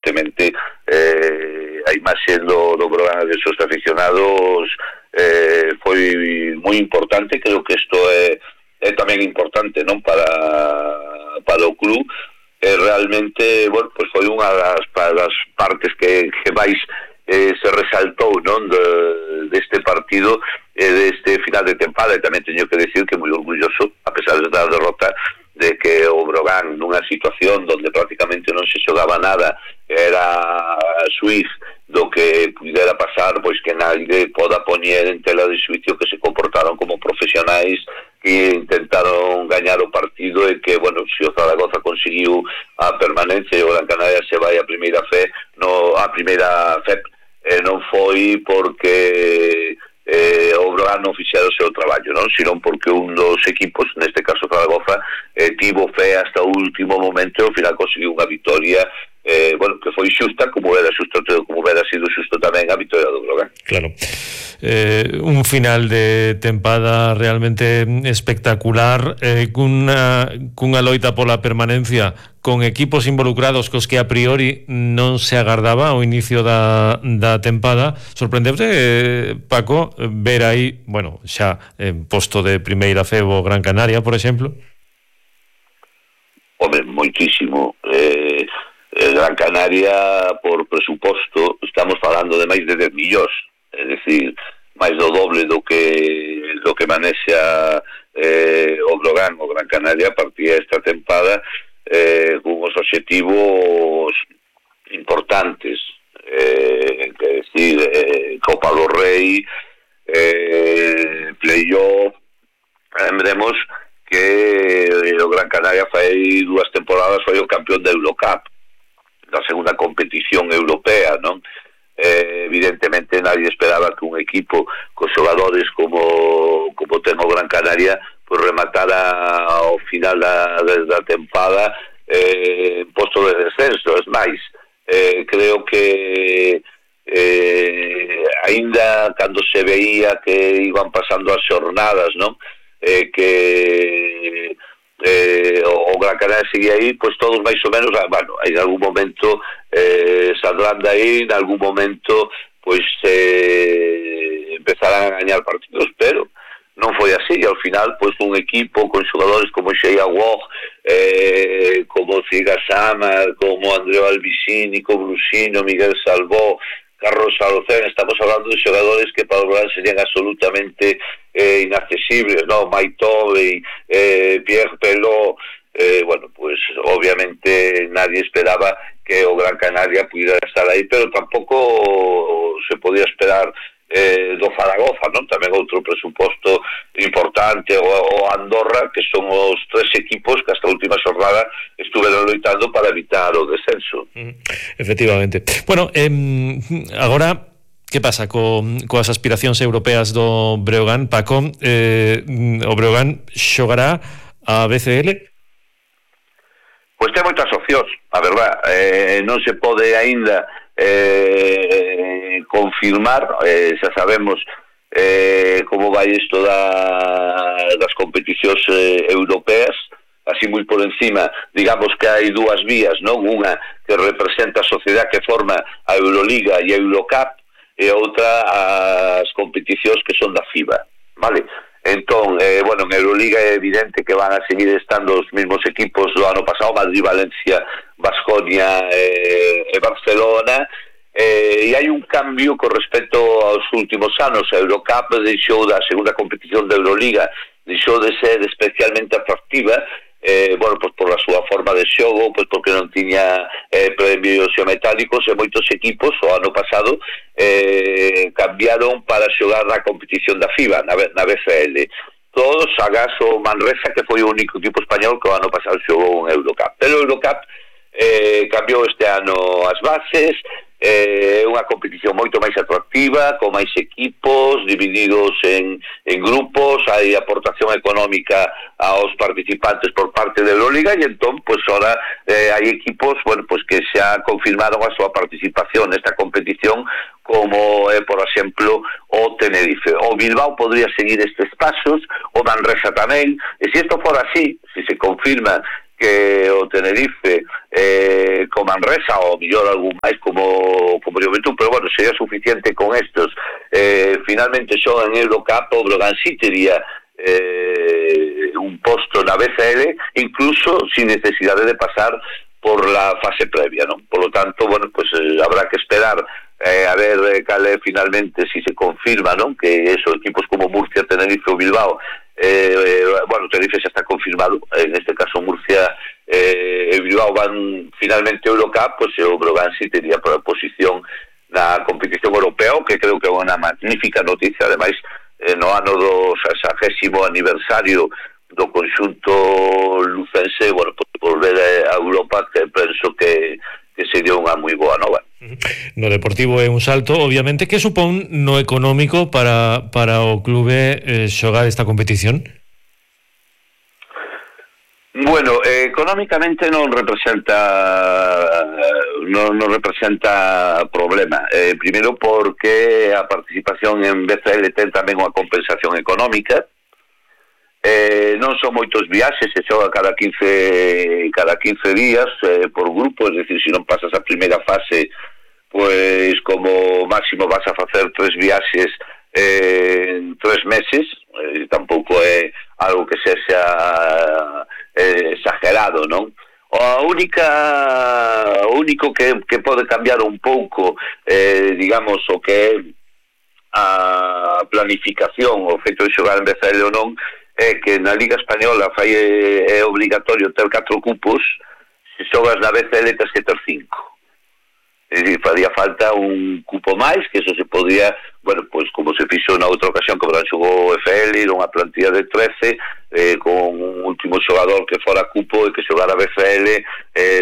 evidentemente a imaxe do Brogan de seus aficionados foi moi importante. Creo que isto é tamén importante, non, para o club. Realmente, bueno, pues foi unha das partes que máis se resaltou, non, deste partido, deste final de tempada. E tamén teño que decir que moi orgulloso, a pesar da derrota, de que o Brogan, nunha situación donde prácticamente non se xogaba nada, era Suiz, do que pudera pasar, pois que nadie poda poñer en tela de xuicio que se comportaron como profesionais, que intentaron gañar o partido, e que, bueno, se o Zaragoza conseguiu a permanencia e o Gran Canaria se vai a primeira FEP, non foi porque o Brogan non fixera o seu traballo, non, sino porque un dos equipos, neste caso Zaragoza, tivo fe hasta o último momento e ao final conseguiu unha victoria bueno, que foi xusta, como era sido xusto tamén a victoria do Brogan. Claro. Un final de tempada realmente espectacular, cunha loita pola permanencia con equipos involucrados cos que a priori non se agardaba ao inicio da tempada. Sorprendente, Paco, ver aí, bueno, xa en posto de primeira FEB o Gran Canaria, por exemplo? Home, moitísimo. Gran Canaria, por presuposto, estamos falando de máis de 10 millóns, é dicir, máis do doble do que manexa o Brogan. O Gran Canaria partía esta tempada con os obxectivos importantes, que decir, Copa do Rei, playoff. Lembremos que o Gran Canaria fai 2 temporadas foi o campeón da Eurocup, da segunda competición europea, non? Evidentemente nadie esperaba que un equipo con xogadores como ten o Gran Canaria pues rematara ao final da tempada en posto de descenso. Es máis, creo que aínda cando se veía que iban pasando as xornadas, non? Que o Gran Canaria seguía aí, pois todos máis ou menos, bueno, en algún momento saldrán de aí, en algún momento pois empezarán a gañar partidos, pero non foi así. E ao final, pois un equipo con xogadores como Xeia Wog, como Ciga Samar, como Andreu Albisini, como Brusino, Miguel Salvó, Carlos Alocén, estamos hablando de xogadores que para o Brogan serían absolutamente inaccesibles, ¿no? Maitobe, Pierre Pelot, bueno, pues obviamente nadie esperaba que o Gran Canaria pudiera estar aí, pero tampouco se podía esperar do Zaragoza, non? Tamén outro presuposto importante, o Andorra, que son os 3 equipos que hasta a última xornada estuveron loitando para evitar o descenso. Efectivamente. Bueno, agora, que pasa coas aspiracións europeas do Breogán, Paco? O Breogán xogará a BCL? Pois ten moitas opcións, a verdad. Non se pode aínda confirmar, xa sabemos como vai isto das competicións europeas, así moi por encima. Digamos que hai 2 vías, non? Unha que representa a sociedade que forma a Euroliga e a Eurocup, e outra as competicións que son da FIBA, vale? Entón, bueno, en Euroliga é evidente que van a seguir estando os mesmos equipos do ano pasado, Madrid, Valencia, Baskonia e Barcelona, e hai un cambio con respecto aos últimos anos. A Eurocup deixou da segunda competición da Euroliga, deixou de ser especialmente atractiva, bueno, pues por a súa forma de xogo, pues porque non tiña premios metálicos, e moitos equipos o ano pasado cambiaron para xogar na competición da FIBA, na BCL. Todos, agás o Manresa, que foi o único equipo español que o ano pasado xogou un Eurocup. Pero o Eurocup cambiou este ano as bases, é unha competición moito máis atractiva, con máis equipos divididos en grupos, hai aportación económica aos participantes por parte da Euroliga, e entón, pois, ora hai equipos, bueno, pois que xa confirmaron a súa participación nesta competición, como é, por exemplo, o Tenerife. O Bilbao podría seguir estes pasos, o Manresa tamén, e se isto fora así, se se confirma que o Tenerife como Manresa ou mellor algún máis como Juventud, pero bueno, sería suficiente con estos. Finalmente xogan en Eurocup, o Brogan sí tería un posto na BCL, incluso sin necesidade de pasar por la fase previa, ¿no? Por lo tanto, bueno, pues habrá que esperar a ver cale finalmente si se confirma, ¿no? Que eso, equipos como Murcia, Tenerife o Bilbao, bueno, Tenerife xa está confirmado, en este caso Murcia e Bilbao van finalmente a Eurocup, pues o Brogan sí tería por posición na competición europea, que creo que é unha magnífica noticia, ademais no ano do 60º aniversario do conxunto lucense, bueno, por volver a Europa, que penso que sería unha moi boa nova. No deportivo é un salto, obviamente. Que supón no económico para o clube xogar esta competición? Bueno, económicamente non representa problema. Primeiro porque a participación en BCL ten tamén unha compensación económica. Non son moitos viaxes, se xoga cada 15 días por grupo, es decir, se non pasas a primeira fase, pois como máximo vas a facer 3 viaxes en 3 meses, tampouco é algo que sexa exagerado, non? O único que pode cambiar un pouco, digamos, o que é a planificación, o feito de xogar en BCL ou non, é que na Liga Española é obligatorio ter 4 cupos, se xogas na BCL tens que ter 5. É dicir, faría falta un cupo máis, que eso se podría, bueno, pois como se fixo na outra ocasión que Brogan xogou FL, unha plantilla de 13, con un último xogador que fora cupo e que xogara BCL,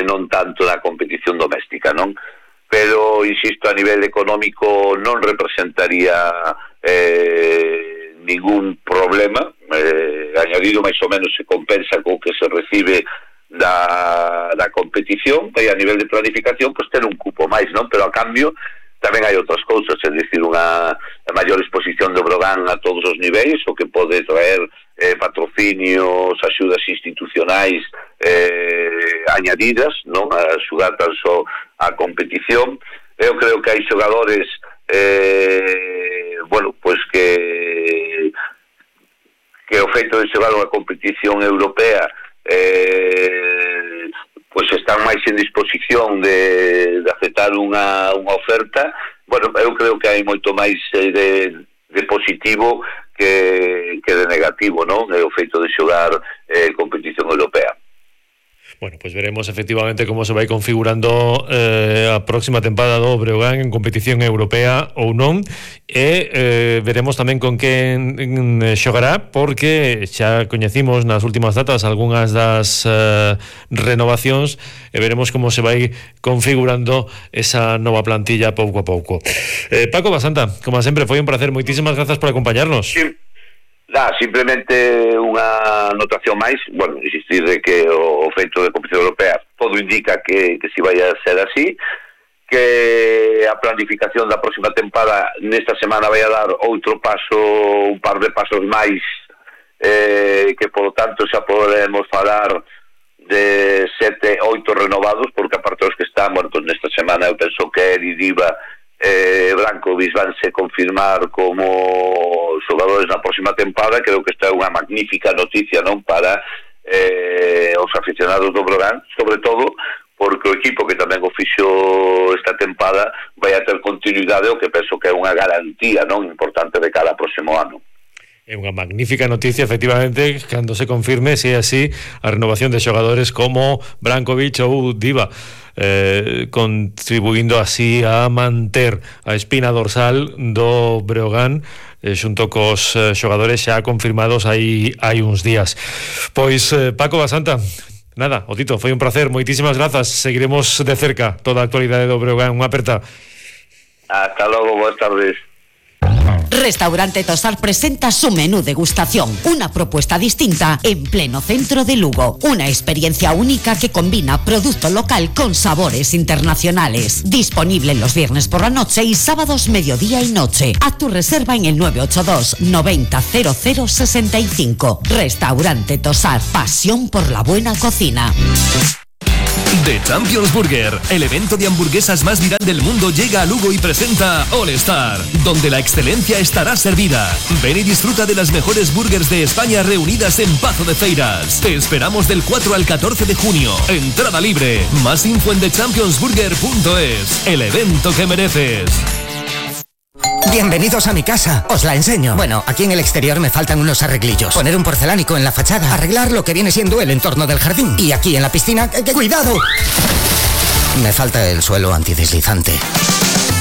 non tanto na competición doméstica, non? Pero, insisto, a nivel económico non representaría ningún problema, añadido máis ou menos se compensa co que se recibe da competición, e a nivel de planificación pues ter un cupo máis, non? Pero a cambio tamén hai outras cousas, é dicir, unha maior exposición do Brogan a todos os niveis, o que pode traer patrocinios, axudas institucionais añadidas, non? A axudar tan só a competición. Eu creo que hai xogadores bueno, pois que o feito de xogar unha competición europea pois están máis en disposición de aceptar unha oferta. Bueno, eu creo que hai moito máis de positivo que de negativo, non? O feito de xogar competición europea. Bueno, pues veremos efectivamente como se vai configurando a próxima tempada do Breogán en competición europea ou non, e veremos tamén con quen xogará, porque xa coñecimos nas últimas datas algunhas das renovacións, e veremos como se vai configurando esa nova plantilla pouco a pouco. Paco Basanta, como sempre, foi un placer, moitísimas grazas por acompañarnos. Sí. Simplemente unha anotación máis, bueno, insistir de que o feito de competición europea todo indica que si vai a ser así, que a planificación da próxima tempada nesta semana vai a dar outro paso, un par de pasos máis, que por lo tanto xa podemos falar de 7, 8 renovados, porque aparte dos que están, bueno, pues nesta semana eu penso que Eri, Diva, Brankovic vanse confirmar como xogadores na próxima tempada. Creo que esta é unha magnífica noticia, non, para os aficionados do Brogan, sobre todo porque o equipo que tamén o fixo esta tempada vai a ter continuidade, o que penso que é unha garantía, non, importante de cara ao próximo ano. É unha magnífica noticia, efectivamente, cando se confirme, se é así, a renovación de xogadores como Brankovic ou Diva, contribuindo así a manter a espina dorsal do Breogán, xunto cos xogadores xa confirmados hai uns días. Pois, Paco Basanta, nada, o Tito, foi un placer, moitísimas grazas, seguiremos de cerca toda a actualidade do Breogán. Unha aperta. Hasta logo, boas tardes. Restaurante Tosar presenta su menú degustación, una propuesta distinta en pleno centro de Lugo, una experiencia única que combina producto local con sabores internacionales. Disponible los viernes por la noche y sábados mediodía y noche. Haz tu reserva en el 982 90 00 65. Restaurante Tosar, pasión por la buena cocina. The Champions Burger, el evento de hamburguesas más viral del mundo, llega a Lugo y presenta All Star, donde la excelencia estará servida. Ven y disfruta de las mejores burgers de España reunidas en Pazo de Feiras. Te esperamos del 4 al 14 de junio. Entrada libre. Más info en thechampionsburger.es. El evento que mereces. Bienvenidos a mi casa, os la enseño. Bueno, aquí en el exterior me faltan unos arreglillos. Poner un porcelánico en la fachada, arreglar lo que viene siendo el entorno del jardín. Y aquí en la piscina, ¡cuidado! Me falta el suelo antideslizante.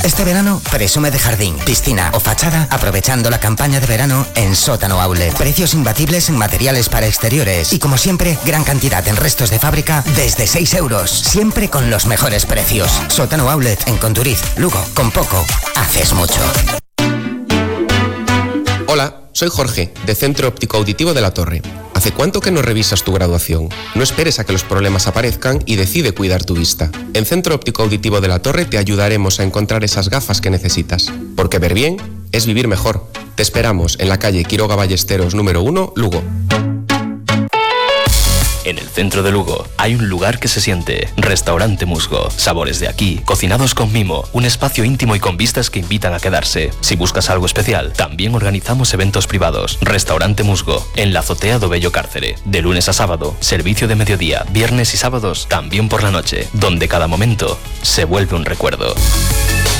Este verano, presume de jardín, piscina o fachada aprovechando la campaña de verano en Sótano Outlet. Precios imbatibles en materiales para exteriores. Y como siempre, gran cantidad en restos de fábrica desde 6 euros. Siempre con los mejores precios. Sótano Outlet en Conturiz, Lugo. Con poco, haces mucho. Hola, soy Jorge, de Centro Óptico Auditivo de La Torre. ¿Hace cuánto que no revisas tu graduación? No esperes a que los problemas aparezcan y decide cuidar tu vista. En Centro Óptico Auditivo de La Torre te ayudaremos a encontrar esas gafas que necesitas. Porque ver bien es vivir mejor. Te esperamos en la calle Quiroga Ballesteros número 1, Lugo. En el centro de Lugo hay un lugar que se siente. Restaurante Musgo. Sabores de aquí, cocinados con mimo. Un espacio íntimo y con vistas que invitan a quedarse. Si buscas algo especial, también organizamos eventos privados. Restaurante Musgo, en la azotea do Bello Cárcere. De lunes a sábado, servicio de mediodía, viernes y sábados, también por la noche. Donde cada momento se vuelve un recuerdo.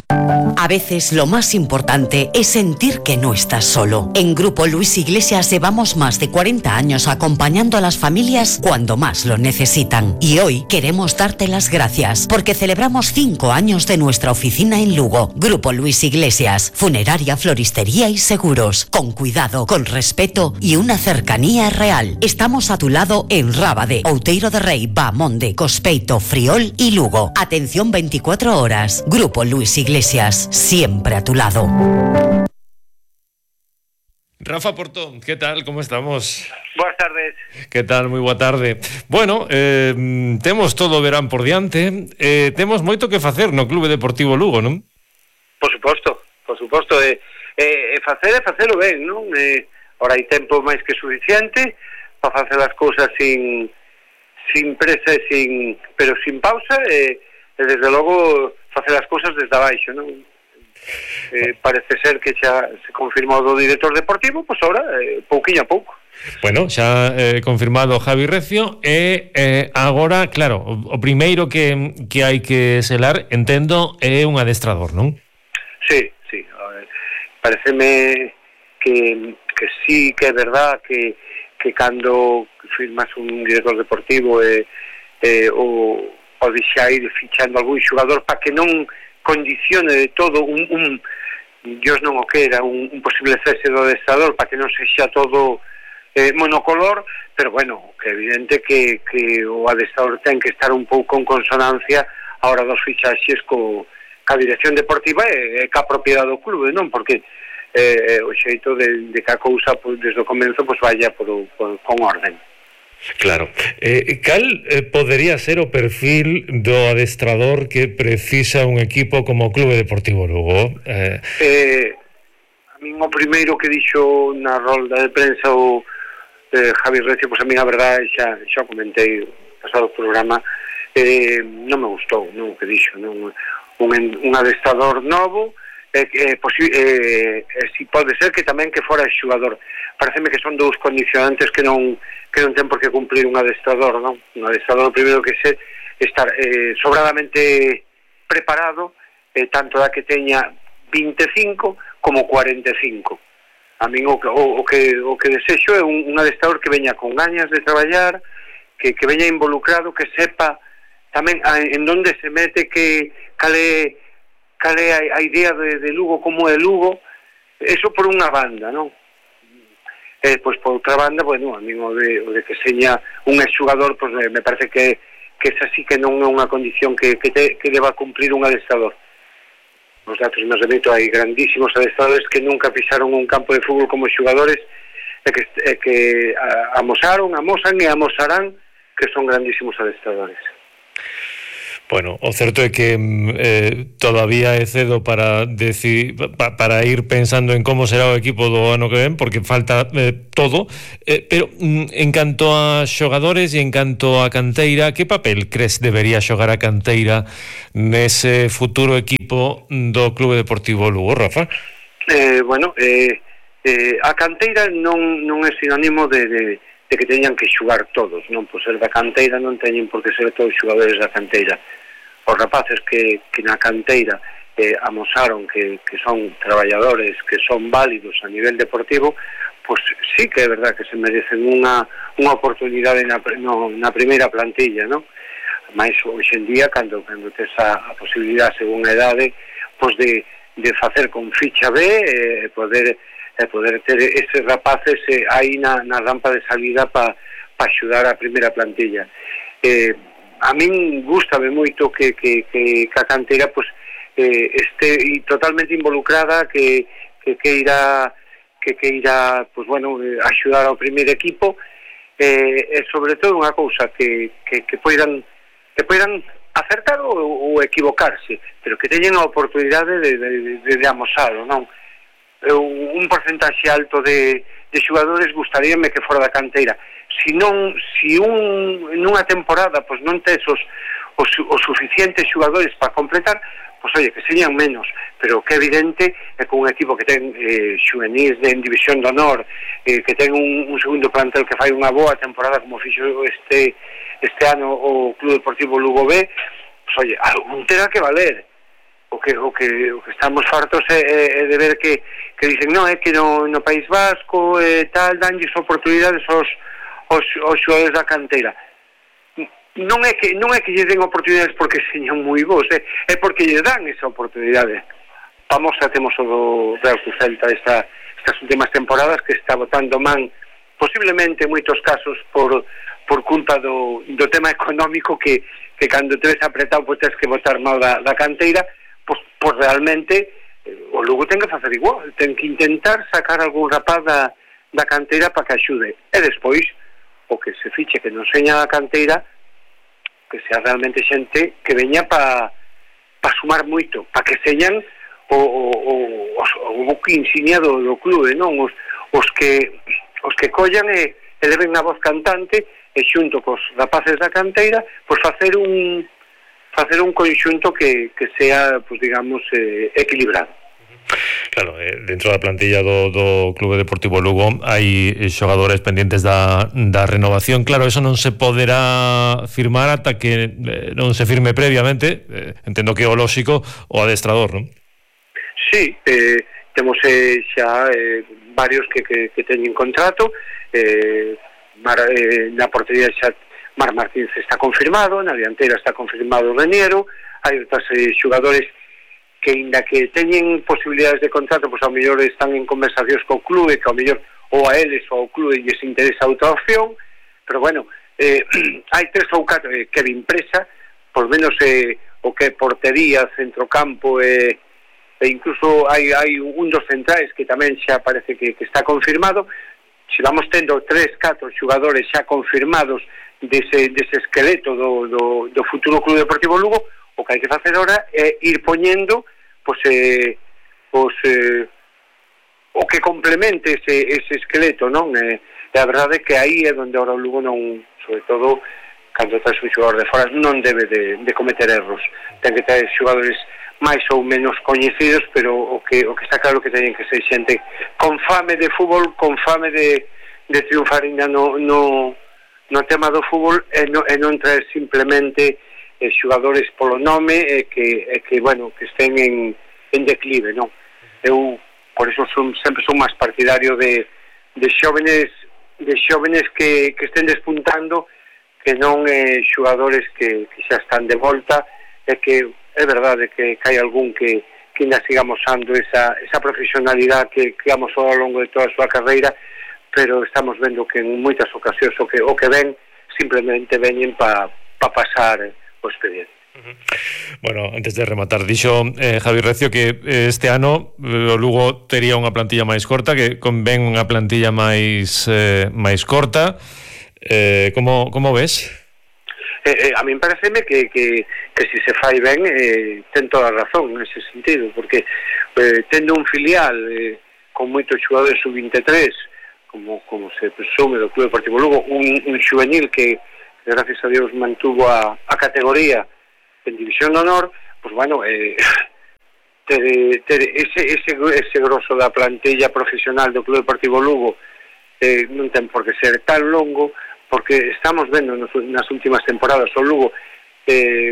A veces lo más importante es sentir que no estás solo. En Grupo Luis Iglesias llevamos más de 40 años acompañando a las familias cuando más lo necesitan. Y hoy queremos darte las gracias porque celebramos 5 años de nuestra oficina en Lugo. Grupo Luis Iglesias, funeraria, floristería y seguros. Con cuidado, con respeto y una cercanía real. Estamos a tu lado en Rábade, Outeiro de Rei, Bamonde, Cospeito, Friol y Lugo. Atención 24 horas. Grupo Luis Iglesias, siempre a tu lado. Rafa Portón, ¿qué tal? ¿Cómo estamos? Boas tardes. ¿Qué tal? Moi boa tarde. Bueno, temos todo o verán por diante, temos moito que facer no Clube Deportivo Lugo, non? Por suposto. Facelo ben, non? Ora hai tempo máis que suficiente para facer as cousas sin presa e pero sin pausa e desde logo facer as cousas desde abaixo, non? Parece ser que xa se confirmou do director deportivo, pois ahora, pouquiño a pouco. Bueno, xa confirmado Javi Recio e agora, claro, o primeiro que hai que selar, entendo, é un adestrador, non? Sí. Pareceme que sí, que é verdad que cando firmas un director deportivo o deixa ir fichando algún xogador para que non condicione de todo Dios non o quera, un posible cese do adestrador, para que non sexa todo monocolor, pero bueno, que é evidente que o adestrador ten que estar un pouco en consonancia a hora dos fichaxes ca dirección deportiva e ca propiedade do clube, non? Porque o xeito de que a cousa desde o comenzo vaya con orden. Claro. Cal podería ser o perfil do adestrador que precisa un equipo como o Clube Deportivo Lugo? A min o primeiro que dixo na rolda de prensa o Javi Recio, pois a min a verdade xa comentei no pasado programa, non me gustou, non o que dixo, non un adestrador novo, si pode ser que tamén que fora xogador. Pareceme que son dous condicionantes que non ten por que cumplir un adestrador, non? Un adestrador primeiro que estar sobradamente preparado, tanto da que teña 25 como 45. A min o que desexo é un adestrador que veña con gañas de traballar, que veña involucrado, que sepa tamén en onde se mete, cal é a idea de Lugo, como é Lugo. Eso por unha banda, non? Pois por outra banda, bueno, a min o de que seña un exjugador, pois me parece que esa sí que non é unha condición que deba cumplir un adestrador. Os datos nos remito, hai grandísimos adestradores que nunca pisaron un campo de fútbol como xogadores e que amosan e amosarán que son grandísimos adestradores. Bueno, o certo é que todavía é cedo para ir pensando en como será o equipo do ano que ven, porque falta todo, pero en canto a xogadores e en canto a canteira, que papel crees debería xogar a canteira nese futuro equipo do Clube Deportivo Lugo, Rafa? A canteira non é sinónimo de que teñan que xogar todos, non por ser da canteira non teñen por que ser todos xogadores da canteira. Os rapaces que na canteira amosaron que son traballadores, que son válidos a nivel deportivo, pois sí que é verdad que se merecen unha oportunidade na primeira plantilla, non? Mais hoxe en día, cando tes a posibilidade según a idade, pois de facer con ficha B e poder ter eses rapaces aí na rampa de salida para axudar a primeira plantilla. A min gústame moito que a canteira pues, este totalmente involucrada, que queira pues, bueno, axudar ao primeiro equipo, e sobre todo unha cousa que poidan acertar ou equivocarse, pero que teñen a oportunidade de amosalo, non? Un porcentaxe alto de xogadores gustaríame que fora da canteira. Si nunha temporada pois non tes os suficientes xogadores para completar, pois oye, que señan menos, pero que evidente é que un equipo que ten xuvenis en División de Honor, que ten un segundo plantel que fai unha boa temporada como fixo este ano o Clube Deportivo Lugo B, pois oye, algún terá que valer. O que estamos fartos é de ver que dicen, non, é que no País Vasco tal, danlles oportunidades aos xogadores da canteira. Non é que lle den oportunidades porque señan moi bons, é porque lle dan esa oportunidade. Vamos, temos o do Real Cruz Celta estas últimas temporadas, que está botando man posiblemente en moitos casos por culpa do tema económico, que cando te ves apretado pois tens que botar mal da canteira. Pois realmente o Lugo ten que facer igual, ten que intentar sacar algún rapaz da canteira para que axude, e despois o que se fiche que non seña a canteira, que sea realmente xente que veña para sumar moito, para que señan o buque insignia do clube, non? Os que collan e leven a voz cantante e xunto cos rapaces da canteira pois facer un conxunto que sea, pues digamos, equilibrado. Claro, dentro da plantilla do Clube Deportivo Lugo hai xogadores pendientes da renovación. Claro, eso non se poderá firmar ata que non se firme previamente, entendo que é o lóxico, o adestrador, non? Sí, temos xa varios que teñen contrato, na portería xa Mar Martínez está confirmado, na dianteira está confirmado o Reniero, hai outros xogadores que, inda que teñen posibilidades de contrato, pois ao mellor están en conversacións co clube, que ao mellor ou a eles ou ao clube lles interesa outra opción, pero bueno, hai 3 ou 4 Kevin Presa, por menos o que portería, centrocampo e incluso hai un dos centrais que tamén xa parece que está confirmado. Se vamos tendo 3, 4 xogadores xa confirmados dese esqueleto do futuro Clube Deportivo Lugo, o que hai que facer ahora é ir poñendo o que complemente ese esqueleto, non? E a verdade é que aí é onde ahora o Lugo non, sobre todo cando tens un xogador de fora, non debe de cometer erros. Ten que ter xogadores máis ou menos coñecidos, pero o que está claro que teñen que ser xente con fame de fútbol, con fame de triunfar ainda no tema do fútbol, e non traer simplemente xogadores polo nome e que bueno, que estén en declive, non? Eu por eso sempre son máis partidario de xóvenes que estén despuntando, que non xogadores que xa están de volta, e que é verdade que hai algún que ainda siga amosando esa profesionalidade que amosou ao longo de toda a súa carreira, pero estamos vendo que en moitas ocasións o que ven simplemente veñen para pasar o expediente. Bueno, antes de rematar, dixo Javi Recio que este ano o Lugo tería unha plantilla máis corta, que convén unha plantilla máis corta. Como ves? a min pareceme que si se fai ben ten toda a razón nese sentido, porque tendo un filial con moitos xogadores sub-23 como se presume do Club Deportivo Lugo, un xuvenil que gracias a Dios mantuvo a categoría en División de Honor, pues bueno, ter ese grosso da plantilla profesional do Club Deportivo Lugo non ten por que ser tan longo, porque estamos vendo nas últimas temporadas o Lugo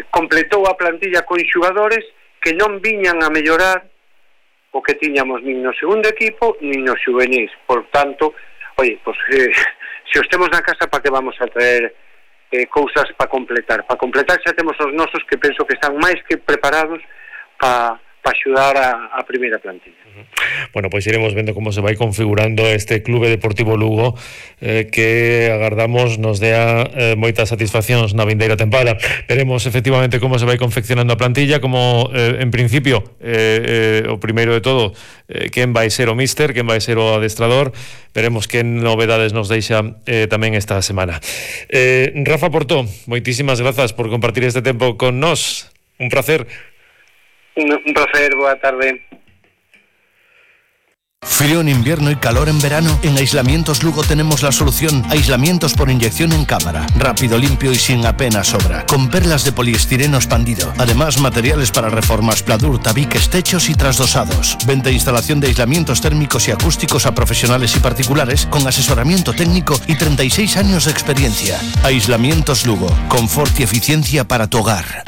completou a plantilla con xogadores que non viñan a mellorar o que tiñamos nin no segundo equipo nin no xuvenis. Por tanto, oye, pues se os temos na casa, para que vamos a traer cousas para completar xa temos os nosos que penso que están máis que preparados para axudar a primeira plantilla. Bueno, pois iremos vendo como se vai configurando este Clube Deportivo Lugo, que agardamos nos dea moitas satisfaccións na vindeira tempada. Veremos efectivamente como se vai confeccionando a plantilla, como en principio o primeiro de todo, quen vai ser o míster, quen vai ser o adestrador. Veremos que novedades nos deixa tamén esta semana. Rafa Portó, moitísimas grazas por compartir este tempo con nós. Un placer. Un placer, boa tarde. Frío en invierno y calor en verano. En Aislamientos Lugo tenemos la solución. Aislamientos por inyección en cámara. Rápido, limpio y sin apenas sobra. Con perlas de poliestireno expandido. Además, materiales para reformas, pladur, tabiques, techos y trasdosados. Venta e instalación de aislamientos térmicos y acústicos a profesionales y particulares con asesoramiento técnico y 36 años de experiencia. Aislamientos Lugo. Confort y eficiencia para tu hogar.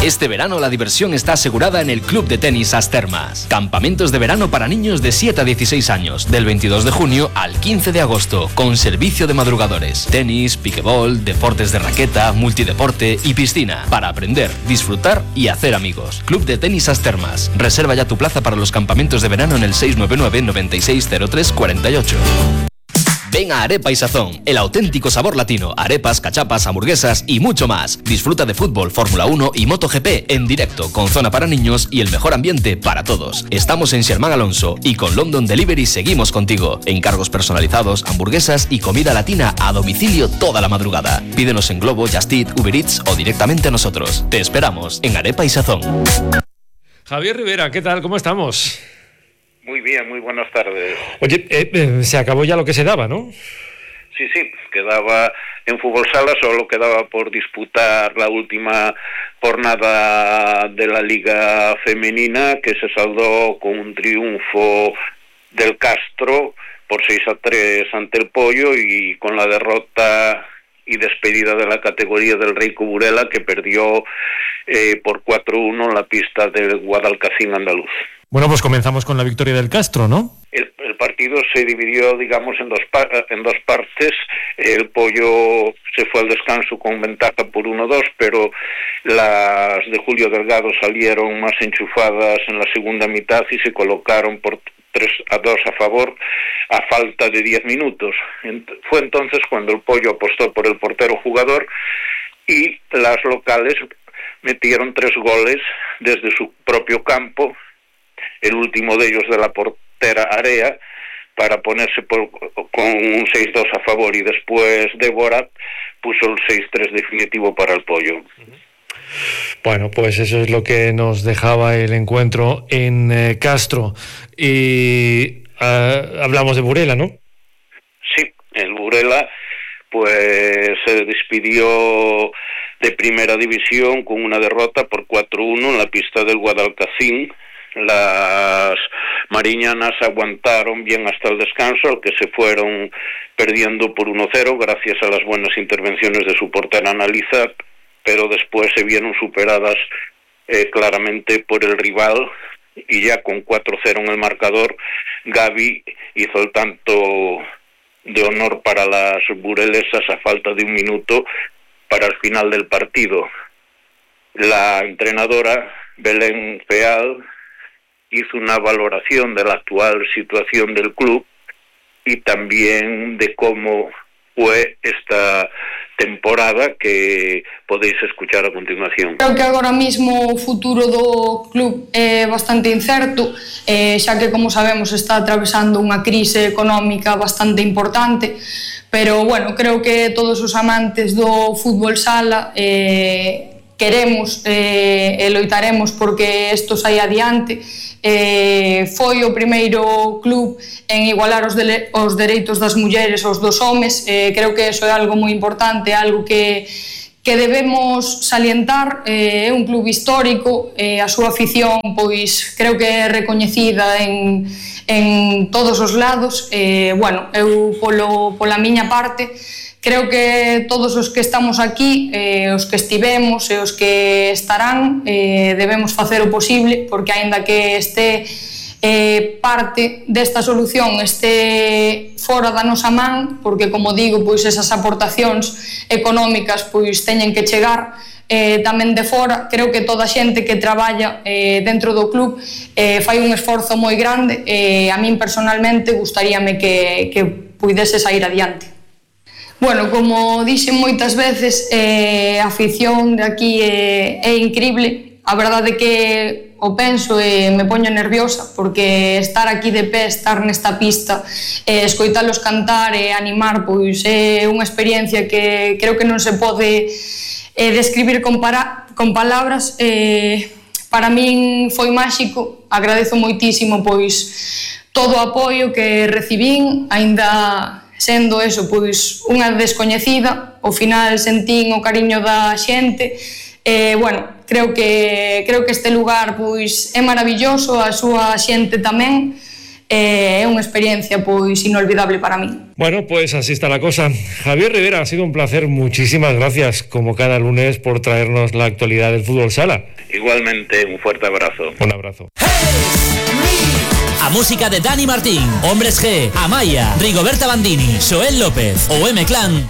Este verano la diversión está asegurada en el Club de Tenis As Termas. Campamentos de verano para niños de 7 a 16 años, del 22 de junio al 15 de agosto, con servicio de madrugadores. Tenis, piquebol, deportes de raqueta, multideporte y piscina, para aprender, disfrutar y hacer amigos. Club de Tenis As Termas. Reserva ya tu plaza para los campamentos de verano en el 699 9603 48. Ven a Arepa y Sazón, el auténtico sabor latino, arepas, cachapas, hamburguesas y mucho más. Disfruta de fútbol, Fórmula 1 y MotoGP en directo, con zona para niños y el mejor ambiente para todos. Estamos en Xermán Alonso y con London Delivery seguimos contigo. Encargos personalizados, hamburguesas y comida latina a domicilio toda la madrugada. Pídenos en Globo, Just Eat, Uber Eats o directamente a nosotros. Te esperamos en Arepa y Sazón. Javier Rivera, ¿qué tal? ¿Cómo estamos? Muy bien, muy buenas tardes. Oye, se acabó ya lo que se daba, ¿no? Sí, quedaba en fútbol sala, solo quedaba por disputar la última jornada de la Liga Femenina, que se saldó con un triunfo del Castro por 6-3 ante el Pollo, y con la derrota y despedida de la categoría del Reico Burela, que perdió por 4-1 en la pista del Guadalcacín andaluz. Bueno, pues comenzamos con la victoria del Castro, ¿no? El partido se dividió, digamos, en dos partes. El Pollo se fue al descanso con ventaja por 1-2, pero las de Julio Delgado salieron más enchufadas en la segunda mitad y se colocaron por 3-2 a favor a falta de 10 minutos. Fue entonces cuando el Pollo apostó por el portero jugador y las locales metieron 3 goles desde su propio campo, el último de ellos de la portera Area, para ponerse con un 6-2 a favor, y después Débora puso el 6-3 definitivo para el Pollo. Bueno, pues eso es lo que nos dejaba el encuentro en Castro. Y hablamos de Burela, ¿no? Sí, el Burela pues se despidió de primera división con una derrota por 4-1 en la pista del Guadalcacín. Las mariñanas aguantaron bien hasta el descanso, al que se fueron perdiendo por 1-0 gracias a las buenas intervenciones de su portera Analiza, pero después se vieron superadas claramente por el rival, y ya con 4-0 en el marcador, Gaby hizo el tanto de honor para las burelesas a falta de 1 minuto para el final del partido. La entrenadora Belén Feal hizo una valoración de la actual situación del club y también de cómo fue esta temporada, que podéis escuchar a continuación. Creo que agora mismo o futuro do club é bastante incerto, xa que, como sabemos, está atravesando unha crise económica bastante importante, pero bueno, creo que todos os amantes do fútbol sala queremos e loitaremos porque isto saia adiante. Foi o primeiro club en igualar os dereitos das mulleres aos dos homes. Creo que iso é algo moi importante, algo que debemos salientar. É un club histórico, a súa afición pois creo que é recoñecida en todos os lados. Bueno, eu pola miña parte creo que todos os que estamos aquí, os que estivemos e os que estarán, debemos facer o posible, porque aínda que este parte desta solución este fora da nosa man, porque como digo, pois esas aportacións económicas pois teñen que chegar tamén de fora. Creo que toda a xente que traballa dentro do club fai un esforzo moi grande e a min personalmente gustaríame que puidese sair adiante. Bueno, como dixen moitas veces, a afición de aquí é incrible. A verdade é que o penso e me poño nerviosa, porque estar aquí de pé, estar nesta pista, escoitalos cantar e animar, pois é unha experiencia que creo que non se pode describir con palabras. Para min foi máxico, agradezo moitísimo pois todo o apoio que recibín, aínda sendo eso, pois, unha descoñecida. Ao final sentín o cariño da xente. Bueno, creo que este lugar pois é maravilloso, a súa xente tamén. É unha experiencia pois inolvidable para mí. Bueno, pues así está la cosa. Javier Rivera, ha sido un placer. Muchísimas gracias, como cada lunes, por traernos la actualidad del fútbol sala. Igualmente, un fuerte abrazo. Un abrazo. A música de Dani Martín, Hombres G, Amaya, Rigoberta Bandini, Joel López ou M-Clan.